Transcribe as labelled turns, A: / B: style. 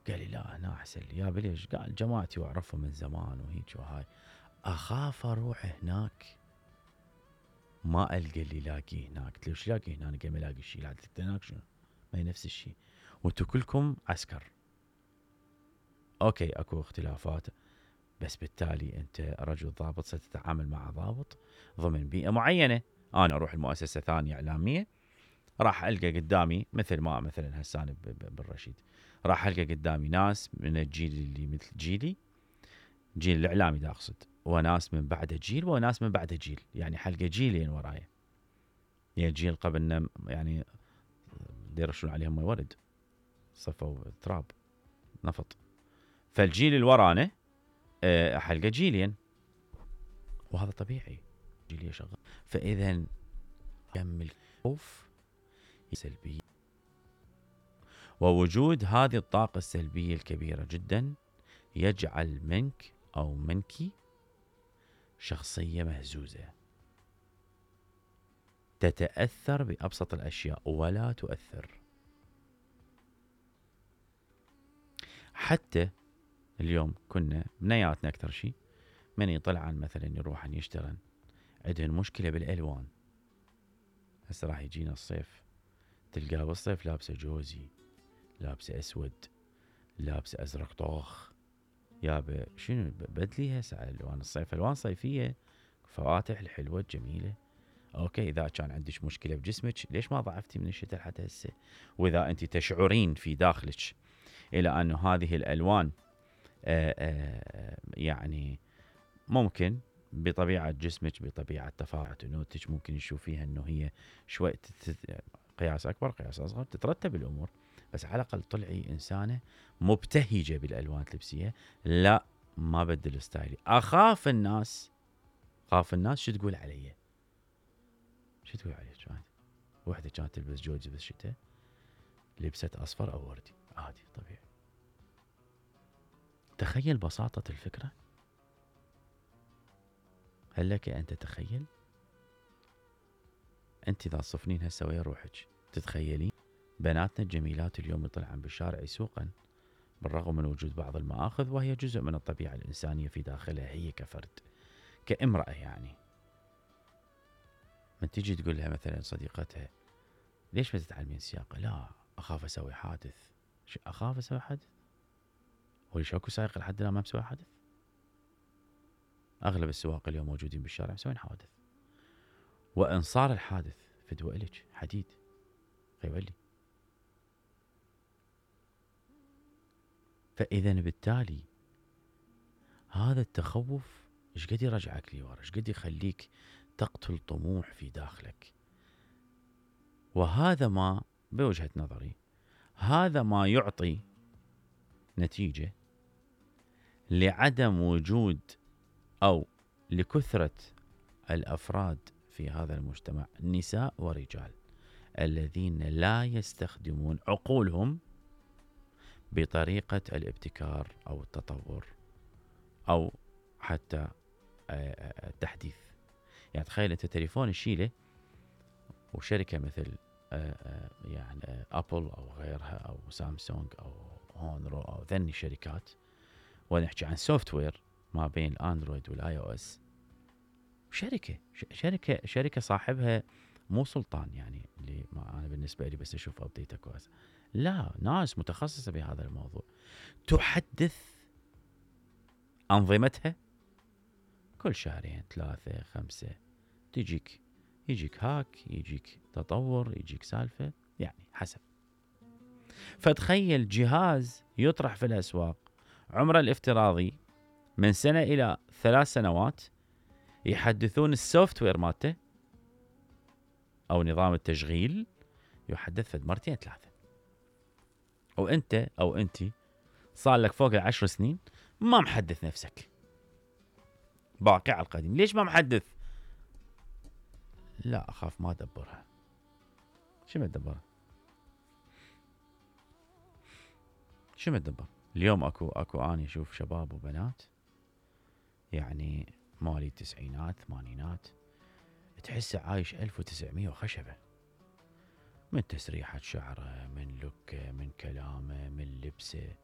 A: قال لي لا هنا احسن لي. يا ليش؟ قال جماعتي واعرفهم من زمان وهيك وهاي، اخاف اروح هناك ما القى اللي لاقيه هناك. قلت له ايش لاقي هنا؟ انا ما الاقي شيء. قلت هناك شنو؟ ما هي نفس الشيء، وانتم كلكم عسكر. اوكي اكو اختلافات، بس بالتالي انت رجل ضابط ستتعامل مع ضابط ضمن بيئة معينة. انا اروح المؤسسة ثانية اعلامية، راح القى قدامي مثل ما مثلا هسه انا بالرشيد، راح القى قدامي ناس من الجيل اللي مثل جيلي، جيل الاعلامي دا اقصد، وناس من بعده جيل وناس من بعده جيل، يعني حلقة جيلين ورايا. يعني الجيل قبلنا يعني يرشون عليهم ورد، صفوا تراب نفط. فالجيل اللي ورانا حلقة جيلين، وهذا طبيعي، جيلية شغال. فإذا يكمل خوف سلبي، ووجود هذه الطاقة السلبية الكبيرة جدا يجعل منك أو منك شخصية مهزوزة، تتأثر بأبسط الأشياء ولا تؤثر. حتى اليوم كنا بنياتنا أكثر شيء من يطلعن مثلا يروحن يشترن، عندهن مشكلة بالألوان. هسه راح يجينا الصيف، تلقاه بالصيف لابسه جوزي، لابسه أسود، لابسه أزرق طوخ، يابا شنو بدلي هسه على ألوان الصيف، ألوان صيفية فواتح الحلوة الجميلة. اوكي اذا كان عندك مشكلة بجسمك ليش ما ضعفتي من الشتاء لحد هسه؟ واذا انت تشعرين في داخلك الى ان هذه الالوان يعني ممكن بطبيعة جسمك بطبيعة تفاعل انوثتك ممكن تشوفيها انه هي شوي قياس اكبر قياس اصغر، تترتب الامور، بس على الاقل طلعي انسانة مبتهجة بالالوان تلبسيها. لا ما بدل ستايلي، اخاف الناس شو تقول علي، شو تقول علي. كانت وحدة كانت تلبس جوجي بالشتاء، لبست اصفر او وردي عادي طبيعي. تخيل بساطة الفكرة، هل لك ان تتخيل؟ انت اذا تصفنين هسه ويا روحك تتخيلين بناتنا الجميلات اليوم يطلعن بالشارع يسوقن بالرغم من وجود بعض المآخذ، وهي جزء من الطبيعة الإنسانية في داخلها هي كفرد كامرأة. يعني من تجي تقول لها مثلا صديقتها ليش ما تتعلمين السياقة؟ لا أخاف أسوي حادث. أخاف أسوي حادث؟ وليش اكو سائق لحد الآن ما مسوي حادث؟ أغلب السواق اليوم موجودين بالشارع مسوين حوادث، وإن صار الحادث فدوى إلك حديد يولي. فإذا بالتالي هذا التخوف ايش قد يرجعك لورا، ايش قد يخليك تقتل طموح في داخلك. وهذا ما بوجهة نظري هذا ما يعطي نتيجة لعدم وجود أو لكثرة الأفراد في هذا المجتمع، نساء ورجال، الذين لا يستخدمون عقولهم بطريقة الابتكار أو التطور أو حتى التحديث. يعني تخيل أنت تليفون الشيلة وشركة مثل يعني أبل أو غيرها أو سامسونج أو هونرو أو ذني الشركات، ونحكي عن سوفت وير ما بين الأندرويد والآي أو إس، شركة صاحبها مو سلطان، يعني اللي ما أنا بالنسبة لي بس أشوف أبديته كويس، لا ناس متخصصة بهذا الموضوع تحدث أنظمتها كل شهرين 3 5، يجيك هاك، يجيك تطور، يجيك سالفة، يعني حسب. فتخيل جهاز يطرح في الأسواق عمره الافتراضي من 1 إلى 3 سنوات، يحدثون السوفت وير مالته أو نظام التشغيل يحدث فد 2 3، وأنت أو أنتي صار لك فوق 10 سنين ما محدث نفسك، باقي على القديم. ليش ما محدث؟ لا أخاف ما أدبرها. شو ما أدبرها؟ شو ما أدبر؟ اليوم أكو أنا أشوف شباب وبنات يعني مالي التسعينات ثمانينات، تحسه عايش 1900 وخشبة، من تسريحة شعره، من لوكه، من كلامه، من لبسه،